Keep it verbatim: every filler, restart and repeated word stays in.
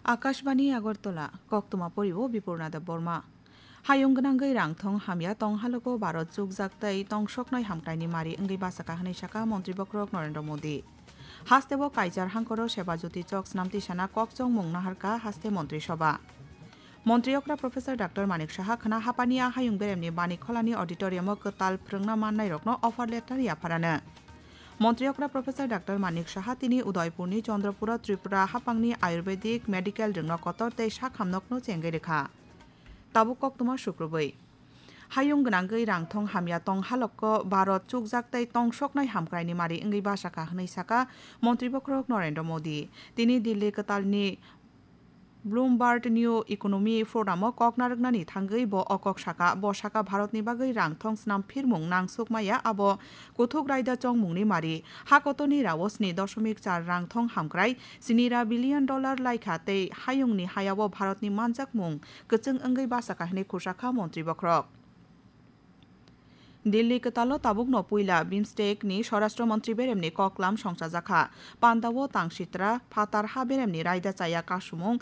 Akashbani Agartala, koktwma poriwo Bipurna Debbarma. Hayung gwnangwi rangthong hamya tong halogo Bharat chukjak tei tongsoknai hamkraini mari wngwi bachakha hwnwi sakha Montri Bokhorok Narendra Modi. Hasteo Kaichar hangkoro Seba Jyoti chok snamti sana kokchongmung naharkha haste Montri Sabha. Montri okra Professor Doctor Manik Saha khwna hapani a hayung beremni Bani Kholani auditorium-o kwtal phrwngna mannairokno offer letter yapharano. Montri okra Professor Doctor Manik Saha tini Udaipurni Chandrapura Tripura hapangni Ayurvedic Medical rwngno kotor tei sakhamnokno chengwi rwkha. Tabuk koktwma sukrubwi. Hayung gwnangwi rangthong hamya tong halokko Bharat chukjak tei tongsoknai hamkraini mari wngwi bachakha hwnwi sakha Montri Bokhorok Narendra Modi. Tini Delhi kwtalni Bloomberg New Economy Forum-o kok narwknani thangwi bo o kok sakha. Bo sakha Bharatni bagwi rangthong snam phirmung nangsuk maya abo kuthuk raida chongmungni mari. Ha kotorni rao sni dosomik char rangthong hamkrai sini ra billion dollar laikha tei hayungni hayao Bharatni manjakmung kwchwng wngwi bachakha hwnwi khursa kha Montri Bokhorok. Delhi kwtalo tabukno puila BIMSTEC ni Swarashtra Montri beremni koklam songchajakha. Pandao tangsitra phatar ha beremni raida chaya kasumung